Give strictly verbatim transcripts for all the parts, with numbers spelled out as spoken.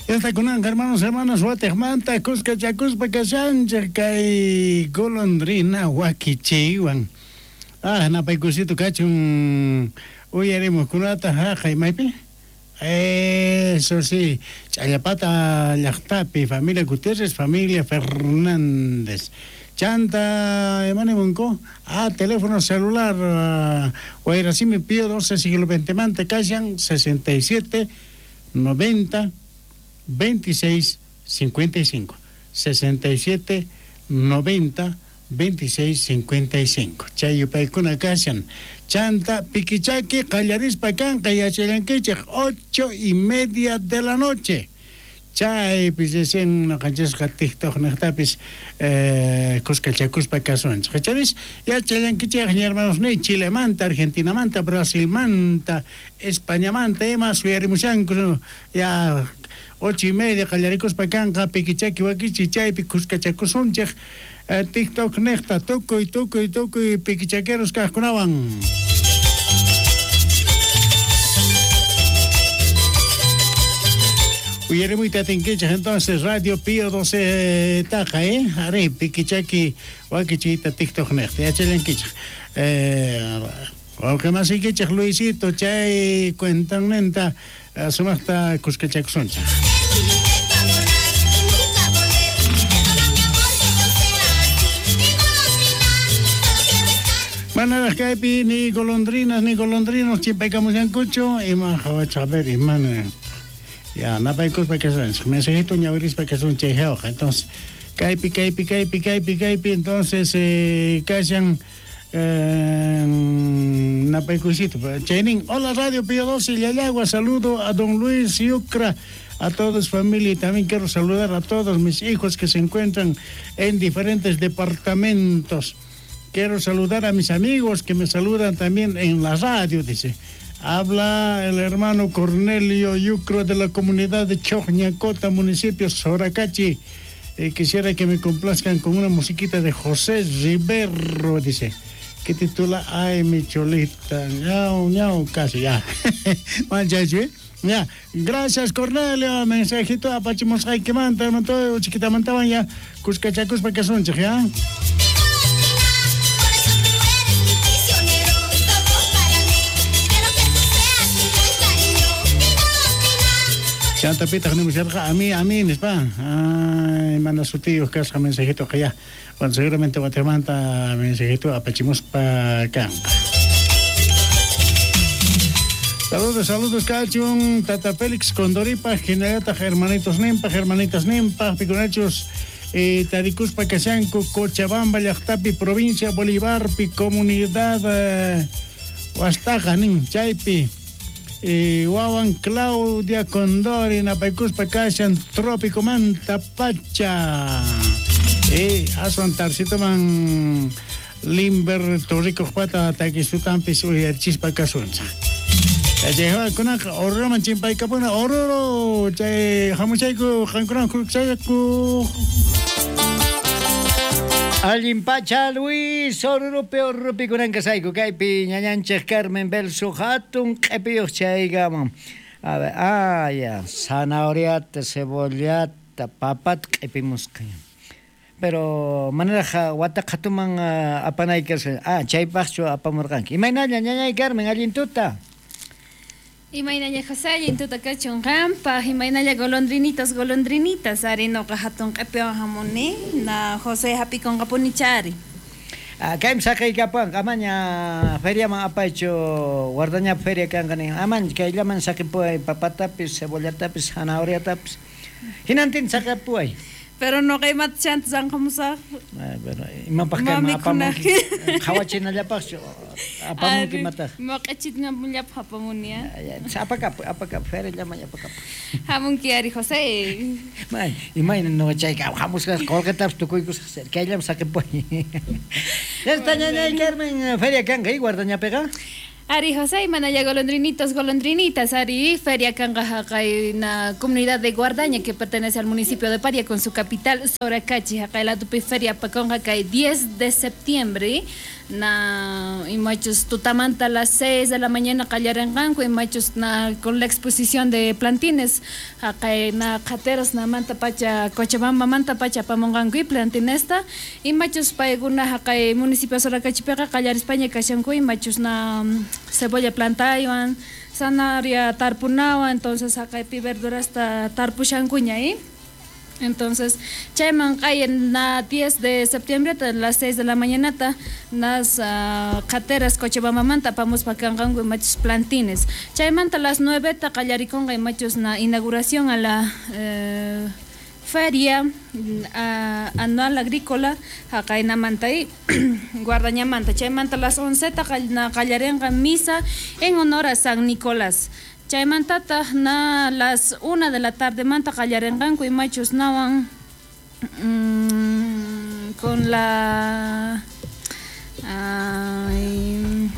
Esta kunanqa hermanos, hermanas, watejmanta kuskachakuspa kashanchej kay golondrina wakichiywan. Ah, napaykusito kachun uyarimuqkunata haqay maypi. Eso sí, Challapata llaqtapi, familia Gutiérrez, familia Fernández. Chanta, imanimunku, ah, teléfono celular, uh, Wayrasimi Pío doce, siglo veinte manta, kashan, sesenta y siete, noventa, veintiséis, cincuenta y cinco. sesenta y siete, noventa, veintiséis, cincuenta y cinco. Chayupaykuna kashan. Chanta, piquichaki, qallarispa kanqa, yachallankichej, ocho y media de la noche. Chaypis recién noqanchisqa TikTok niqtapis eh, kuskachakuspa kasunchik. Charis yachallankichej hermanos ni Chilemanta, Argentinamanta, Brasilmanta, Españamanta, ima suyarimushanku ya ocho y media qallarikuspa kanqa piquichaki wakichi chaypi kuskachakusunchej eh, TikTok niqta tukuy tukuy tukuy piquichaqueros kaqkunawan. Uyarimuyta atinkichej entonces Radio Pío doce taqa, eh? Ari, piquichaki wakichiyta TikTok niqta yachallankichej. Eh, wawqimasiykichej Luisito chay cuentanninta sumaqta kuskachakusunchej. Manaraq kaypi ni golondrinas ni golondrinos chimpaykamushankuchu ima hawacha a ver imana. Ya, napaykuspa kasunchej, mensajito ñawirispa kasunchej jawqa. Entonces, kaypi, kaypi, kaypi, kaypi, kaypi, entonces, eh, kashan eh, napaykusito. Chaynin, hola Radio Pío doce, Llallagua, saludo a don Luis Yucra, a toda su familia, y también quiero saludar a todos mis hijos que se encuentran en diferentes departamentos. Quiero saludar a mis amigos que me saludan también en la radio, dice. Habla el hermano Cornelio Yucro de la comunidad de Chojñacota, municipio Soracachi. Eh, quisiera que me complazcan con una musiquita de José Rivero, dice, que titula Ay, mi cholita, ñau, ñau, casi ya. ¿Eh? Ya, gracias Cornelio, mensajito apachimusqaykimanta, hermano, chiquitamantawan ya, kuskachakuspa kasunchej, ya. Chantapitaq nimusharqa a mí, a mí, nispa. Ay, manda sutiyuq kasqa mensajito ya. Bueno, seguramente watemanta mensajito apachimuspa kanqa. Saludos, saludos, kachun, Tata Félix Condoripa, hinallataq hermanitos nimpaq, hermanitas nimpaq, pikunachus, eh, tarikuspa kashanku, Cochabamba llaqtapi, provincia Bolivarpi, comunidad eh, Huastaja, nin, chaypi. Eh, wawan Claudia Condori napaykuspa kashan Trópico Manta Pacha. Eh, aswan tarsitoman Limber Torrico pata takisutampis uyarichispa kasuncha. Chaykunaqa Oruroman chimpaykapuna Oruro chay hamuchayku qankunawan kuchayku. Allin pacha Luis, Orurupi Orurupi kunan kasayku kaypi ñañanchej Carmen Belso hatun q'ipiyuq chaykaman. A ver, ah ya, zanahoriata, cebollata, papata q'ipimusqa. Pero manaraq wata qhatuman uh, apanaykas, ah, chaypaqchu apamurqanki. Imaynalla ñañay Carmen, allin tuta. Imaynalla José, allin tuta kachun qanpaq, imaynalla golondrinitas, golondrinitas, ari noqa hatun q'ipiwan hamuni, na José hapikunqapuni chari. Ah, kaymi saqiykapuwanqa, amaña feriaman apaychu, guardañapi feria kanqa nin, amaña kayllaman saqipuway papatapis, cebollatapis, zanahoriatapis, hinantin saqipuway. Pero noqa imata chanta sanqamusaq. Ah, pero imapaq kayman apamunki, qhawachinallapaqchu apamunki imataq. Moq'ichinallapaq apamuni, ah. Apakapuy, apakapuy, feriallaman apakapuy. Hamunki ari José. May, imayna noqa chayka hamusqa qolqetapis tukuykusaq, kayllaman saqipuway. Esta ñañay Carmen, feria kanqa y guardañapiqa. Ari José, manaya golondrinitos, golondrinitas, Ari, feria kanqa haqay na comunidad de Guardaña que pertenece al municipio de Paria con su capital Soracachi, haqay latupi feria paconja kay diez de septiembre, Na imachus tutamanta a las seis de la mañana qallarinqanku imachus na con la exposición de plantines haqay na qhateras na manta pacha Cochabamba manta pacha apamunqanku y plantinesta imachus paykuna haqay municipio Soracachipiqa qallarispaña kashanku imachus na cebolla plantaywan zanahoria tarpunawan entonces haqaypi verdurasta tarpushankuña ¿eh? Entonces, chayman q'aya na diez de septiembre a las seis de la mañana nas uh, qhateras Cochabambamanta apamuspa kanqanku imachus plantines. Chaymanta a las nueve ta qallarikunqa imachus na inauguración a la eh, feria uh, anual agrícola haqaynamanta y Guardañamanta. Chaymanta a las once ta qallarinqa misa en honor a San Nicolás. Chaymantataq na las una de la tarde manta qallarinqanku imachus nawan mmm, con la ay,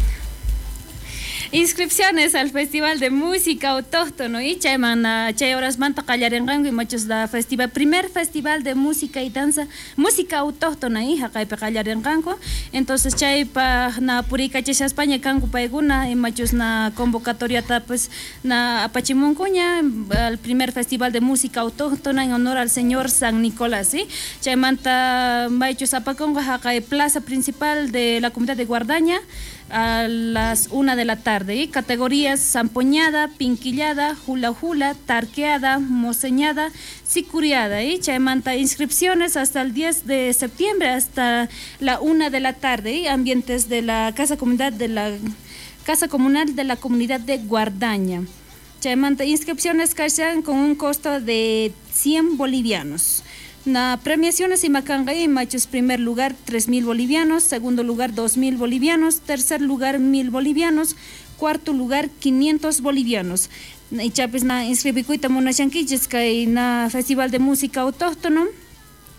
inscripciones al Festival de Música Autóctono y chayman chay horas manta qallarinqanku imachus la festival primer festival de música y danza música autóctona y haqaypi qallarinqanku entonces chaypaq na purikachishaspaña kanku paykuna imachus na convocatoriata pues na apachimunkuña al primer festival de música autóctona en honor al señor San Nicolás, ¿sí? Chaymanta maychus apakunqa haqay plaza principal de la comunidad de Guardaña a las una de la tarde. ¿Eh? Categorías zampoñada, pinquillada, hula hula, tarqueada, moseñada, sicuriada. ¿Eh? Chaymanta inscripciones hasta el diez de septiembre, hasta la una de la tarde. ¿Eh? Ambientes de la Casa Comunidad de la Casa Comunal de la Comunidad de Guardaña. Chaymanta inscripciones kashan con un costo de cien bolivianos. Na premiaciones y macangay machos primer lugar tres mil bolivianos, segundo lugar dos mil bolivianos, tercer lugar mil bolivianos, cuarto lugar quinientos bolivianos. Y chapis na inscribikuyta munashankichis kay na Festival de Música Autóctono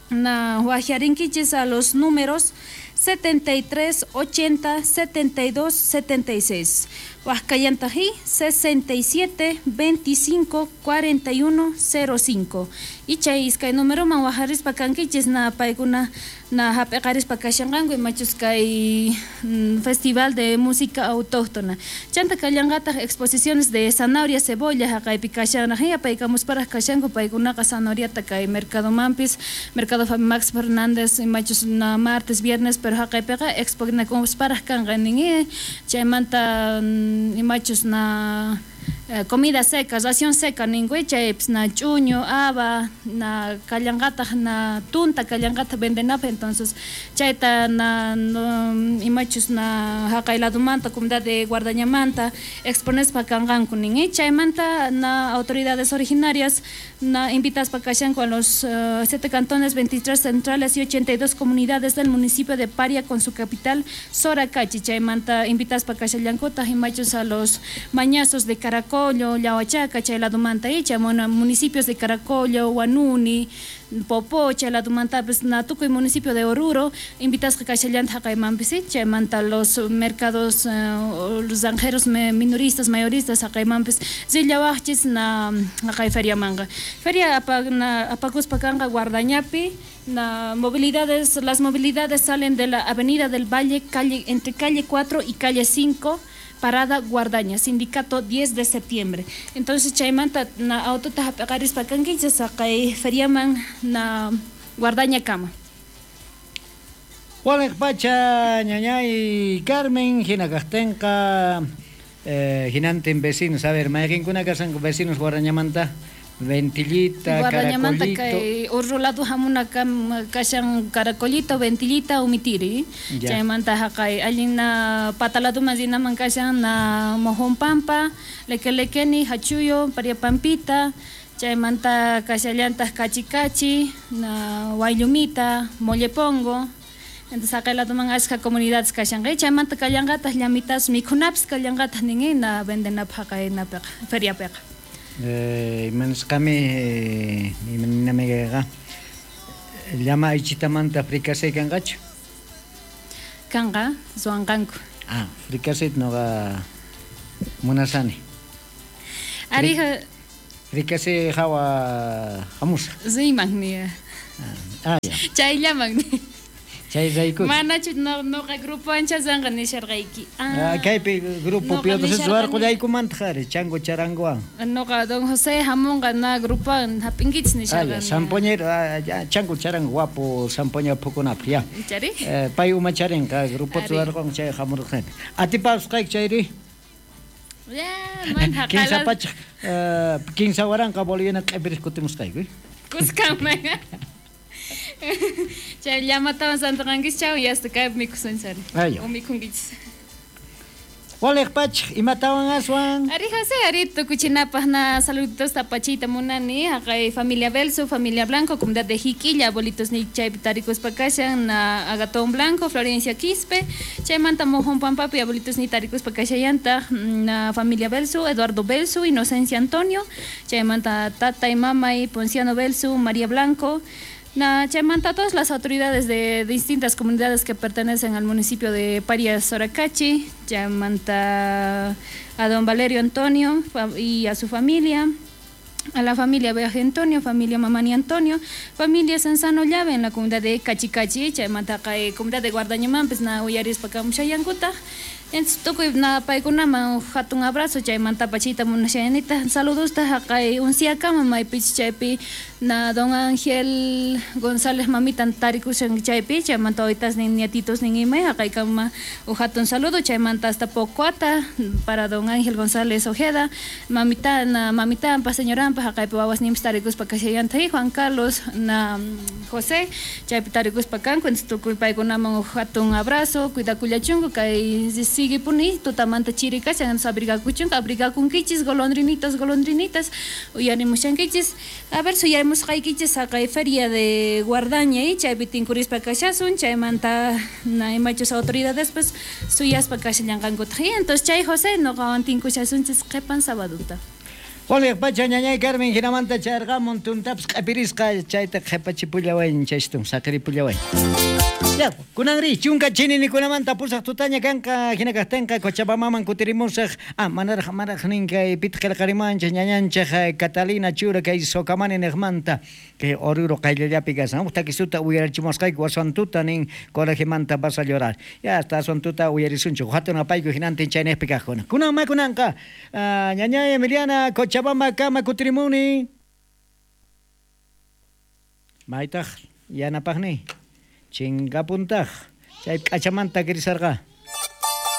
na huajarinkichis a los números setenta y tres, ochenta, setenta y dos, setenta y seis. Huascayantají sesenta y siete, veinticinco, cuarenta y uno, cero cinco. Y chay iskay número man wajarispa kankichis na paykuna na hap'eqarispa kashanqanku imachus kay Festival de Música Autóctona. Chanta kallanqataq exposiciones de zanahoria, cebolla haqaypi kashanraq apaykamusparaq kashanku paykunaqa zanahoriata kay Mercado Mampis, Mercado Max Fernández imachus na martes, viernes, pero haqaypiqa exponakusparaq kanqa nin chaymanta imachus na eh, comida seca, ración seca ningüe chaypis na ch'uño, haba, na kallanqataq na tunta kallanqataq vendenapaq entonces chayta na no, imachus na haqay ladumanta comunidad de Guardañamanta exponespa kanqanku nin chaymanta na autoridades originarias na invitaspa kashanku a los uh, siete cantones, veintitrés centrales y ochenta y dos comunidades del municipio de Paria con su capital Soracachi. Chaymanta invitaspa kashallankutaq imachus a los mañazos de Caracollo, Llahuachaca, chayladumanta icha, municipios de Caracollo, Huanuni, Popó, chayladumanta pues na tukuy municipio de Oruro, invitasqa kashallanta haqaymanpis, chaymanta los mercados, uh, los zanjeros minoristas, mayoristas haqaymanpis rillawaqchis na haqay feriamanqa. Feria apakuspa kanqa Guardañapi, na movilidades, las movilidades salen de la Avenida del Valle, calle, entre calle cuatro y calle cinco, Parada Guardaña, sindicato diez de septiembre. Entonces chaymanta na autota hap'eqarispa kankichis haqay feriaman na Guardaña kama. Waliq pacha ñañay Carmen hinakaqtinqa eh, hinantin vecinos, a ver, mayqinkuna kashanku vecinos Guardañamanta? Ventillita, Guardañamanta Caracolito. Kay urru lado hamuna kam kashan Caracolito, Ventillita, Umitiri. Chaymanta haqay allin na pataladuman rinaman kashan na Mojonpampa, Lequelequeni, Hachuyo, Pariapampita. Chaymanta kashallantaq Cachicachi, na Guayllumita, Mollepongo. Entonces haqay laduman ashka comunidades kashanqa. Chaymanta kallanqataq llamitas mikhunapis kallanqataq nin na vendenapaq haqay napiqa feriapiqa. Eh, imanisqami eh, imaninamiqa llama aychitamanta fricasé kanqachu? Kanqa, ruwanqanku. Ah, fricasé noqa munasani. Arija fricasé hawa hamusaq. Riman ni. Ah, ya. Chayllaman ni. Chay rayku. Manachu noqa grupo anchaswanqa nisharqayki. Ah, kaypi grupo piotas ruwarqullaykumanta ari chango charangowan. Noqa don José hamunqa na grupowan hap'inkichis nisharqani. Zampoñero, chango charango guapo zampoña phukunapaq ya. Chari? Pay umacharinqa grupota ruwarqun chay hamurqani. Atipasqayki chayri? Ya, man haqala. Kinsa pachak, kinsa waranqa boliviana q'ipiris kutimusqayku. Kuskanman. Chay llamatawan santanqankichis chawan yasta kaypi mikusunchari. O mikhunkichis. Waliq pachak imatawan aswan? Ari José, ari tukuchinapaq na saluditos tapachiyta munani haqay familia Belso, familia Blanco, comunidad de Jiquilla, abuelitos ni chaypi tarikuspa kashan na Agatón Blanco, Florencia Quispe, chaymanta Mojón Pampapi, abuelitos ni tarikuspa kashallantaq na familia Belso, Eduardo Belso, Inocencia Antonio, chaymanta tata y mama y Ponciano Belso, María Blanco. Na, chaymanta todas las autoridades de distintas comunidades que pertenecen al municipio de Parias Soracachi, chaymanta a don Valerio Antonio y a su familia, a la familia Viaje Antonio, familia Mamani Antonio, familia Sansano Llave en la comunidad de Cachicachi, chaymanta comunidad de Guardañumanpis na uyarispa kamushayankutaj. Entonces tukuy na paykunaman hatun abrazo chaymanta pachita munashayanita saludosta haqay unsiakama maypichus chaypi na don Ángel González mamitan tarikushan chaypi chaymanta wawitasnin nietitos nin ima haqaykama uj hatun saludo chaymanta hasta Pocuata para don Ángel González Ojeda mamita na mamitanpa señoranpa haqaypi wawasninpis tarikuspa kashallanta Juan Carlos na José chaypi tarikuspa kanku entonces tukuy paykunaman uj hatun abrazo cuidakullachunku kay sigue puni tutamanta chiri kashan abrigakuchunku abrigakunkichis golondrinitos golondrinitas uyarimushankichis a ver suyarimusqaykichis haqay feria de Guardaña y chaypi tinkurispa kashasun chaymanta na imachus autoridades pues suyaspa kashallanqankutaq entonces chay José noqawan tinkushasunchis qhipan sabaduta. Waliq pacha ñañay Carmen hinamanta charqamun tuntapis q'ipirisqa chayta qhipachipullawayn chaystun saqiripullawayn. Ya, kunanri chunka chininikunamanta pusaq tutaña kanqa hina kaqtinqa Cochabambaman kutirimusaq. Ah, manaraq manaraq nin kay pitaq qillqarimanchik ñañanchik Catalina Chura kay Socamani niqmanta kay Oruro qayllallapi kashan. Huk takisuta uyarichimusqayku aswan tuta nin colegimanta vas a llorar. Ya hasta aswan tuta uyarisunchik. Hatun apayku hinantin chayniqpi kaqkuna. Kunan makunanqa ñañay Emiliana Cochabamba kama kutirimuni. Maytaq yanapaqni. Chingapuntaq chay k'achamanta kirisarqa.